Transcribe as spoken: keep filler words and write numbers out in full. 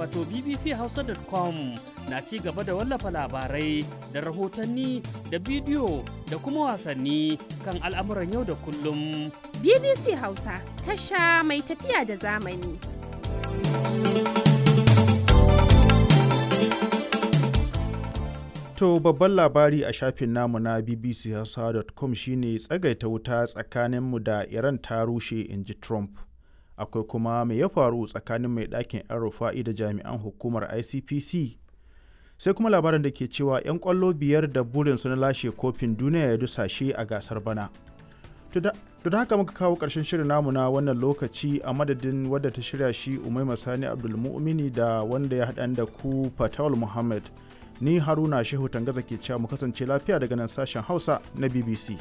wato bbchausa dot com, na ci gaba da wallafa labarai da rahotanni da bidiyo da kuma wasanni kan al'amuran yau da kullum. B B C Hausa, tasha mai tafiya da zamani. To, babban labari a shafin namu na bbchausa dot com shine tsagaita wuta tsakaninmu da Iran ta rushe, in ji Trump. Akwai kuma me ya faru tsakanin mai ɗakin 'yan Rufa'i da jami'an hukumar I C P C. Sai kuma labarin da ke cewa 'yan ƙwallo biyar da burinsu na lashe kofin duniya ya dusashe a gasar bana. To, da haka muka kawo ƙarshen shirin namu na wannan lokaci. A madadin wadda ta shirya shi, Umaima Sani Abdulmu'mini, da wanda ya haɗa da ku, Fatawul Muhammad. Ni Haruna Shehu Tangaza, ke cewa mu kasance lafiya daga nan sashen Hausa na B B C.